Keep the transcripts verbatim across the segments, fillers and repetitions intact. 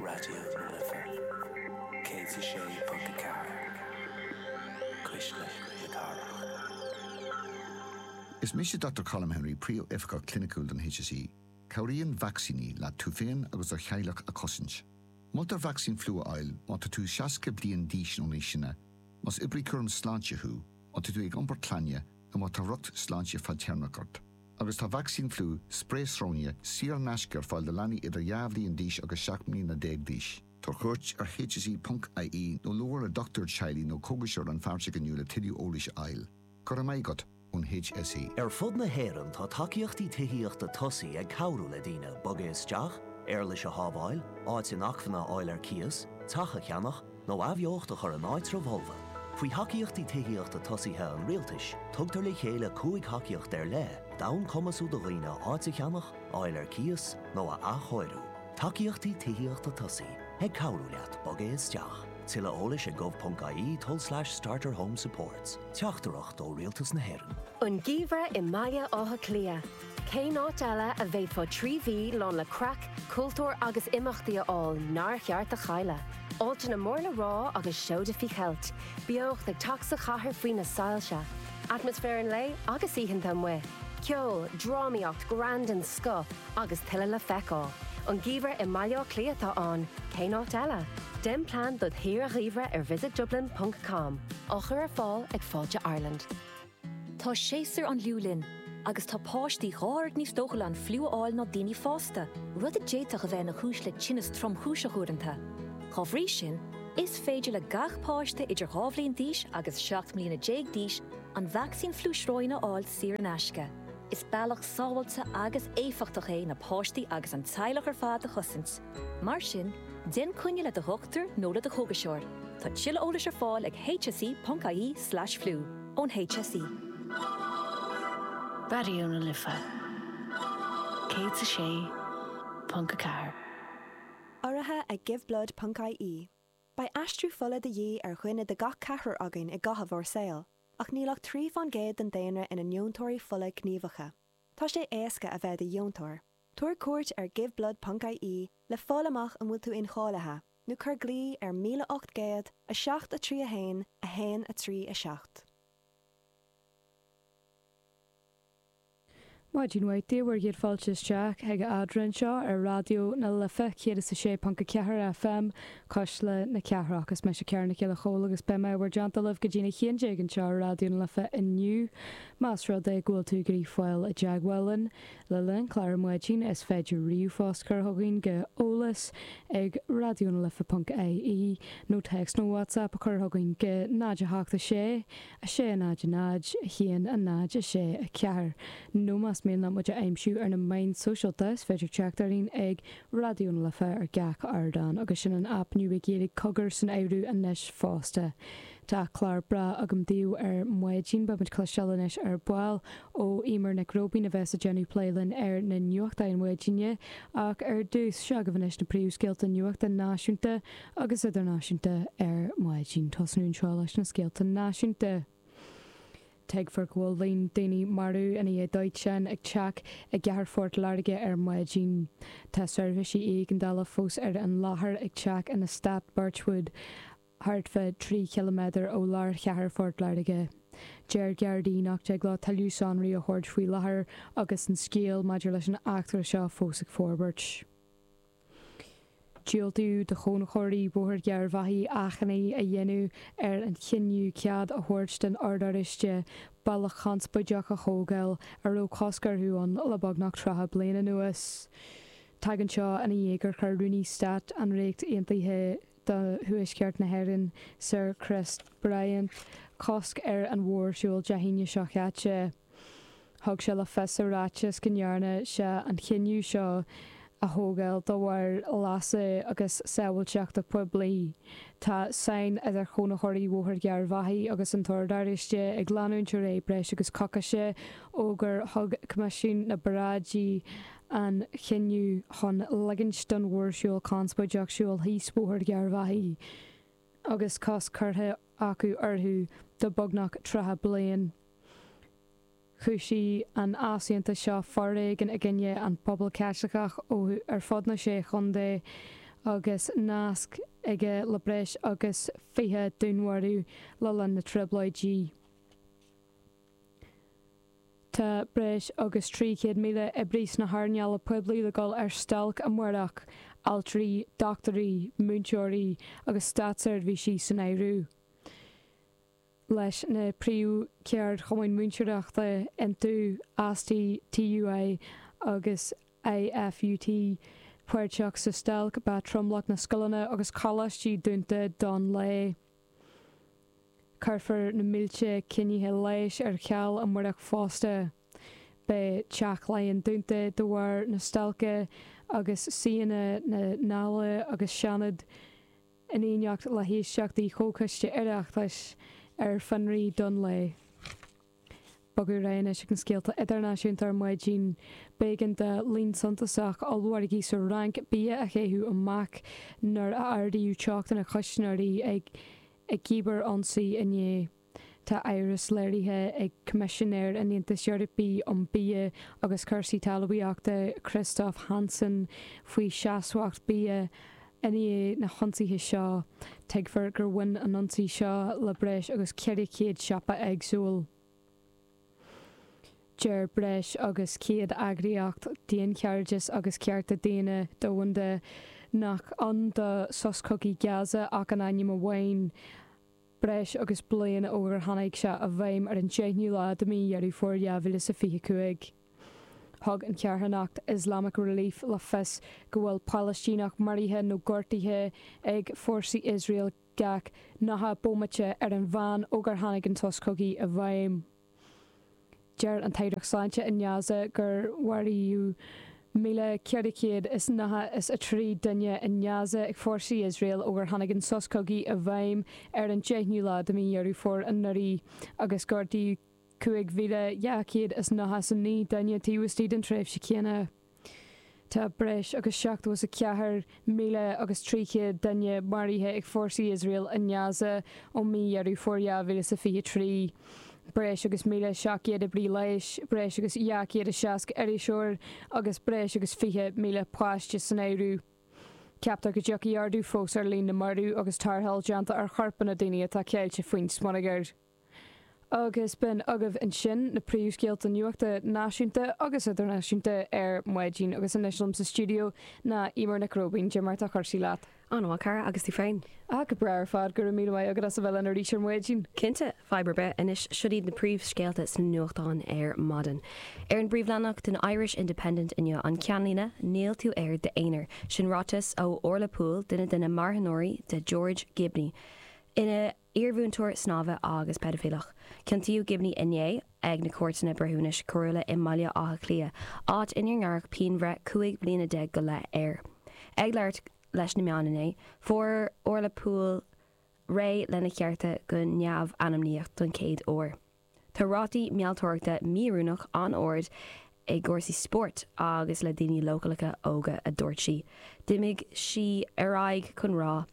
Raidió na Life céad a sé ponc a ceathair Cuisle na Cathrach. Is mise Dr. Colm Henry príomhoifigeach cliniciúil don HSE. Cabhraíonn vacsaíní le tú féin agus do theaghlach a chosaint. Moltar vacsaín fliú a fháil má tá tú seasca bliain d'aois nó níos sine, más oibrí cúram sláinte thú, má tá tú ag iompar clainne nó má tá riocht sláinte fadtéarmach ort. Agus tá vacsaín fliú sprae sróine saor in aisce ar fáil do leanaí idir dhá bhliain d'aois agus seacht mbliana déag d'aois. Tabhair cuairt ar hse.ie nó labhair le dochtúir teaghlaigh nó cógaiseoir rannpháirteach inniu le tuilleadh eolais a fháil. Go raibh maith agat ón HSE. Ar fud na hÉireann tá tacaíochtaí tithíochta tosaigh ag cabhrú le daoine bogadh isteach, éarlais a shábháil, áit inacmhainne a fháil ar cíos, teach a cheannach nó athbheocht a chur in áitreabh folmha. Faoi thacaíochtaí tithíochta tosaithe an rialtais, tugtar le chéile cúig thacaíocht ar leith, d'fhonn cumasú do dhaoine áit a cheannach, fháil ar cíos nó a athchóiriú. Tacaíochtaí tithíochta tosaigh ag cabhrú leat bogadh isteach. Tuilleadh eolais ag gov.ie tulslais starter home supports. Teachtaireacht ó Rialtas na hÉireann. An geimhreadh i mBaile Átha Cliath. Cén áit eile a bhféadfá trí mhí lán le craic, cultúr agus imeachtaí a fháil nár cheart a chailleadh. Áiteanna mór le rá agus seoda faoi cheilt, beocht ag teacht sa chathair faoi na soilse. Atmaisféar an lae agus oícheanta amuigh. Ceol, drámaíocht, greann den scoth agus tuilleadh le feiceáil. An geimhreadh i mBaile Átha Cliath atá ann, cén áit eile? Déan plean do shaoire gheimhridh ar visitdublin.com á chur ar fáil ag Fáilte Ireland. Tá séasúr an fhliú linn, agus tá páistí dhá oiread níos dóchúla an fliú a fháil ná daoine fásta, rud a d'fhéadfadh a bheith ina chúis le tinneas tromchúiseach uaireanta. Dá bhrí sin, is féidir le gach páiste idir dhá bhliain d'aois agus seacht mbliana déag d'aois an vacsaín fliú sróine a fháil saor in aisce. Is bealach sábháilte agus éifeachtach é na páistí agus an teaghlach ar fad a chosaint. Mar sin, déan coinne le do dhochtúir nó le do chógaiseoir. Tá tuilleadh eolais ar fáil ag hse.ie slash flu ón HSE. Raidió na Life Céad a sé ponc a ceathair. Urraithe ag giveblood.ie. Beidh aistriú fola de dhíth ar dhuine de gach ceathrar againn i gcaitheamh ár saoil, ach níl ach trí faoin gcéad den daonra ina ndeontóirí fola gníomhacha. Tá sé éasca a bheith i do dheontóir. Tabhair cuairt ar giveblood.ie le fáil amach an bhfuil tú incháilithe, nó cuir glao ar míle ocht gcéad a seacht a trí a haon a haon a trí a seacht. Maidin mhaith daoibh bhur gcéad fáilte isteach ag Eadra anseo ar Raidió na Life céad is a sé ponc a ceathair FM, Cuisle na Cathrach. Is mise Ciara Nic Giolla Chóill agus beidh mé i bhur dteannta libh go dtína haon déag anseo ar Raidió na Life inniu. Más rud é go bhfuil tú ag iarraidh fáil i dteagmháil linn le linn an chláir ar maidin is féidir ríomhphost a chur chugainn go eolas ag raidionalife ponc ie nó téacs nó WhatsApp a chur chugainn go náid a hocht a sé a sé náid a náid a haon a náid a sé a ceathair nó más mian leat muid a aimsiú ar na meáin sóisialta is féidir teacht orainn ag Raidió na Life ar gach ardán agus sin an aip nua Gaeilge Cogar san áireamh anois fosta. Tá clár breá agam daoibh ar maidin, beidh muid cloisteáil anois ar ball ó Eimear Nic Róibín a bheas ag déanamh plé linn ar na nuachtáin mhaidine ach ar dtús seo agaibh anois na príomhscéalta nuachta náisiúnta agus idirnáisiúnta ar maidin. Tosnú anseo leis na scéalta náisiúnta. Tuigfear go bhfuil líon daoine marbh ina dhiaidh dóiteáin ag teach i gcathair Phort Láirge ar maidin. Tá seirbhísí éigeandála fós ar an láthair ag teach in eastát Birchwood, thart fá trí chiliméadar ó lár chathair Phort Láirge. Deir Gardaí nach dtig leo tuilleadh sonraí a thabhairt faoi láthair agus an scéal maidir leis an eachtra seo fós ag forbairt. Diúltaíodh do chónaitheoirí Bhóthar Gharbhachaidh achainí a dhéanamh ar an chinneadh cead a thabhairt don Ord Oráiste bealach conspóideach a thógáil a raibh cosc orthu ann le beagnach tríocha bliain anuas. Tagann seo ina dhiaidh gur chuir Rúnaí Stáit an Ríocht Aontaithe do Thuaisceart na hÉireann, Sir Chris Bryant, cosc ar an mhórshiúl Dé hAoine seo caite. Thug sé le fios sa ráiteas go ndearna sé an chinneadh seo a thógáil de bharr leasa agus sábháilteachta poiblí. Tá sáinn idir chónaitheoirí Bhóthar Gharbhachaidh agus an tOrd Oráiste ag leanúint ar aghaidh breis agus coicíse ó gur thug Coimisiún na bParáidí an chinneadh chun ligint don mhórshiúl conspóideach siúl thíos Bhóthar Gharbhachaidh agus cosc curtha acu orthu do beagnach tríocha bliain. Chúisigh an easaontas seo foréigean i gcoinne an pobal Caitliceach ó ar fud na sé chontae agus nasc aige le breis agus fiche dúnmharú le linn na Trioblóidí. Tá breis agus trí chéad míle oibrí sna hearnála poiblí le dul ar stailc amárach, altraí, dochtúirí, múinteoirí agus státseirbhísigh san áireamh. Leis na príomhcheardchumainn múinteoireachta iontu, ASTI, TUI agus IFUT páirteach sa stailc, beidh tromlach na scoileanna agus coláistí dúnta don lae. Cuirfear na mílte coinnithe leighis ar ceal amárach fosta. Beidh Teach Laighean dúnta de bharr na stailce agus suíonna na Dála agus Seanad, in éineacht le héisteachtaí Chomhchoiste Oireachtais, ar fionraí don lae. Bogadh ar aghaidh anois chuig na scéalta idirnáisiúnta ar maidin. B'éigean do líon suntasach ollmhargaí sa Fhrainc bia a chaitheamh amach nuair a ardaíodh teocht na custaiméirí ag i gcíbear-ionsaí inné. Tá amhras léirithe ag Coimisinéir an Aontais Eorpaigh um Bia agus Cúrsaí Talmhaíochta Christophe Hansen faoi sheasmhacht bia i ndiaidh na hionsaithe seo. Tuigtear gur bhain an ionsaí seo le breis agus ceithre chéad siopa éagsúil. Deir breis agus céad eagraíocht daonchairdis agus cearta daonna domhanda nach ann do sos cogaidh Gaza ach in ainm amháin, breis agus bliain ó gur tháinig sé i bhfeidhm ar an deichiú lá de mhí Dheireadh Fómhair dhá mhíle is a fiche cúig. Thug an charthanacht Islamic Relief le fios go bhfuil Palaistíneach maraithe nó gortaithe ag fórsaí Iosrael gach nócha bomaite ar an mheán ó gur tháinig an sos cogaidh i bhfeidhm. Deir an tAireacht Sláinte i nGaza gur maraíodh míle ceithre chéad is nócha is a trí duine i nGaza ag fórsaí Iosrael ó gur tháinig an sos cogaidh i bhfeidhm ar an deichiú lá de mhí Dheireadh Fómhair anuraidh agus gortaíodh cúig mhíle dhá chéad is nócha is a naoi duine taobh istigh den tréimhse chéanna. Tá breis agus seachtó is a ceathair míle agus trí chéad duine maraithe ag fórsaí Iosrael i nGaza ó mhí Dheireadh Fómhair dhá mhíle is a fiche trí. Breis agus míle seacht gcéad oibrí leighis, breis agus dhá chéad is seasca iriseoir agus breis agus fiche míle páiste san áireamh. Ceaptar go dtiocfaidh ardú fós ar líon na marbh agus tarrtháil déanta ar chorpanna daoine atá ceilte faoin smionagar. Agus b'in agaibh ansin na príomhscéalta nuachta náisiúnta agus idirnáisiúnta ar maidin agus anois liom sa stiúideo ná Eimear Nic Róibín. Cad é mar atá cúrsaí leat? An-mhaith, a chara, agus tú féin? Ah, go breá ar fad, go raibh míle maith agat as a bheith linn arís ar maidin. Cinnte, fadhb ar bith. Anois, seo iad na príomhscéalta sna nuachtáin ar maidin. Ar an bpríomhleathanach den Irish Independent inniu, an ceannlíne, Níl tú ar d'aonar. Sin ráiteas ó Orla Poole, duine de na marthanóirí de George Gibney. Ina iarmhúinteoir snámha agus peidifíleach. Ciontaíodh Gibney inné ag na Cúirteanna Breithiúnais Coiriúla i mBaile Átha Cliath, áit inar gearradh pianbhreith cúig bliana déag go leith air. Ag labhairt leis na meáin inné, fuair Orla Poole réidh lena chearta go neamh-ainmníoch don chéad uair. Tá rátaí mealltóireachta mí-oiriúnach an-ard i gcúrsaí spóirt agus le daoine leochaileacha óga, a dúirt sí. D'imigh sí ar aghaidh chun rá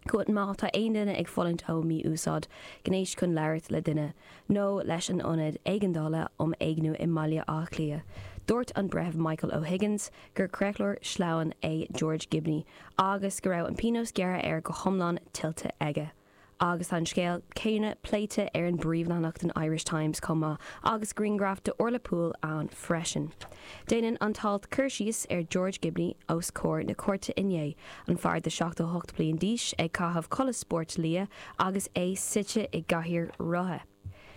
go má tá aon duine ag fulaingt ó mhí-úsáid gnéis chun labhairt le duine nó leis an Ionad Éigeandála um Éigniú i mBaile Átha Cliath. Dúirt an Breitheamh Michael O'Higgins gur creachlóir sleamhain é George Gibney agus go raibh an pionós gearrtha air go hiomlán tuillte aige. Agus tá an scéal céanna pléite ar an bpríomhleathanach den Irish Times chomh maith agus grianghraf de Orla Poole ann freisin. Déanann an t-alt cur síos ar George Gibney os comhair na cúirte inné, an fear de seachtó hocht bliain d'aois ag caitheamh culaith spóirt liath agus é suite i gcathaoir rotha.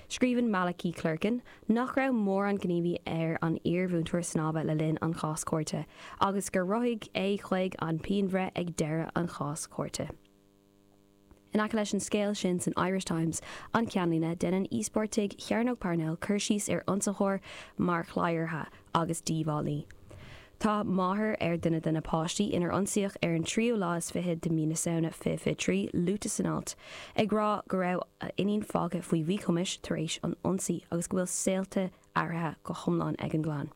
Scríobhann Malachy Clerkin nach raibh mórán gníomhaí ar an iarmhúinteoir snámha le linn an chás cúirte, agus gur rothaigh é chuig an pianbhreith ag deireadh an chás cúirte. In aice leis an scéal sin san Irish Times, an ceannlíne, déanann íospartaigh Chearnóg Parnell cur síos ar ionsaitheoir mar chladhaire agus díobhálaí. Tá máthair ar duine de na páistí inar ionsaíodh ar an tríú lá is fiche de mhí na Samhna fiche fiche trí luaite san alt, ag rá go raibh a iníon fágtha faoi mhíchumais tar éis an ionsaí agus go bhfuil saolta athraithe go hiomlán ag an gclann.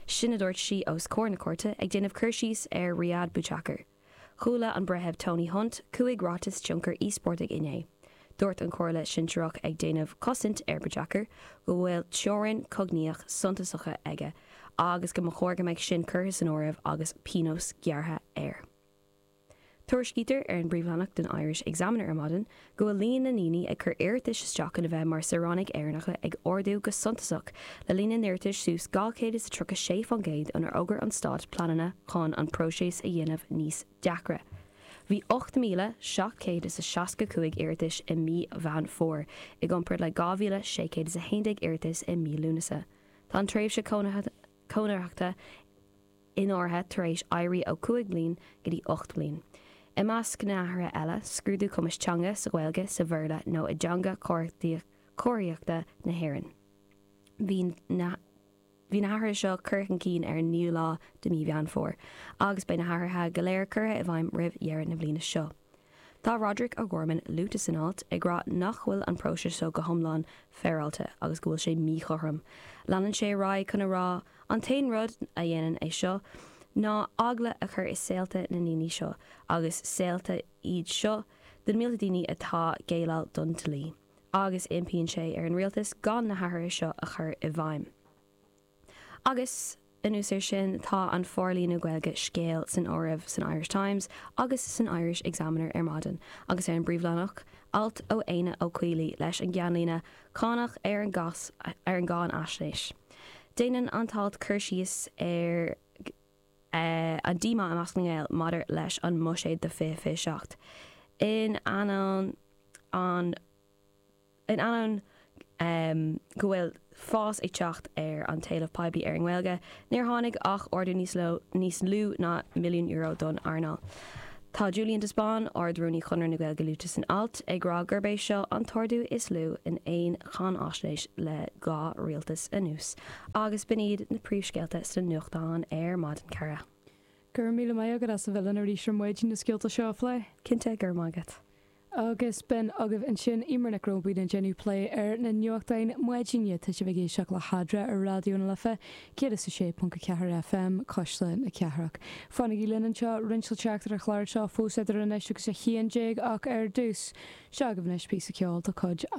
Sin a dúirt sí os comhair na cúirte, ag déanamh cur síos ar Riyad Bouchaker. Chuala an Breitheamh Tony Hunt cúig ráiteas tionchair íospartaigh inné. Dúirt an Chomhairle Shinsearach ag déanamh cosaint ar Bouchaker go bhfuil teorainn cognaíoch suntasacha aige agus go mba chóir go mbeadh sin curtha san áireamh agus pionós gearrtha air. Tuairiscítear ar an bpríomhleathanach den Irish Examiner ar maidin go bhfuil líon na ndaoine ag cur iarratais isteach chun a bheith mar saoránaigh Éireannacha ag ardú go suntasach le líon na n-iarratas suas dhá chéad is tríocha sé faoin gcéad ónar fhógair an stát pleananna chun an próiseas a dhéanamh níos deacra. Bhí ocht míle seacht céad is a seasca cúig iarratais i mí Mheán Fómhair, i gcomparáid le dhá mhíle sé chéad is a haon déag iarratas i mí Lúnasa. Tá an tréimhse cónaitheachta iarrtha tar éis éirí ó cúig bliain go dtí ocht bliain. I measc na n-athruithe eile, scrúdú cumais teanga sa Ghaeilge, sa Bhéarla nó i dteanga comharthaíochta na hÉireann. Bhí na Bhí na hathruithe seo curtha chun cinn ar an naoú lá de mí Mheán Fómhair, agus beidh na hathruithe go léir curtha i bhfeidhm roimh dheireadh na bliana seo. Tá Roderic O'Gorman luaite san alt ag rá nach bhfuil an próiseas seo go hiomlán féaráilte agus go bhfuil sé míchothrom. Leanann sé ar aghaidh chun a rá an t-aon rud a dhéanann é seo ná eagla a chur i saolta na ndaoine seo agus saolta iad seo de na mílte daoine atá ag géilleadh don dlí. Agus impíonn sé ar an rialtas gan na hathruithe seo a chur i bhfeidhm. Agus anuas air sin tá an forlíonadh Gaeilge scéal san áireamh san Irish Times agus san Irish Examiner ar maidin, agus ar an bpríomhleathanach alt ó Éanna Ó Caollaí leis an gceannlíne cánach ar an gas ar an gcáinaisnéis. Déanann an t-alt cur síos ar uh, an díomá i measc na nGael maidir leis an mbuiséad do fiche fiche seacht. In ainneoin an in ainneoin um, go bhfuil fás ag teacht ar an t-éileamh poiblí ar an nGaeilge, níor tháinig ach ardú níos lú níos lú ná milliún euro don earnáil. Tá Julian de Spáinn Ard-Rúnaí Chonradh na Gaeilge luaite san alt ag rá gurb é seo an t-ardú is lú in aon cháinaisnéis le dhá rialtas anuas, agus b'in iad na príomhscéalta sna nuachtáin ar maidin cara. Gur míle maith agat as a bheith linn arís ar maidin na scéalta seo a phlé. Cinnte gur maith agat. Agus b'in agaibh ansin Eimear Nic Róibín ag déanamh plé ar na nuachtáin maidine tá sibh ag éisteacht le hEadra ar Raidió na Life, céad is a sé ponc a ceathair FM Cuisle na Cathrach. Fanaigí linn anseo roinnt le teacht ar an chlár seo fós idir anois agus a haon déag ach ar dtús seo agaibh anois píosa ceoil de chuid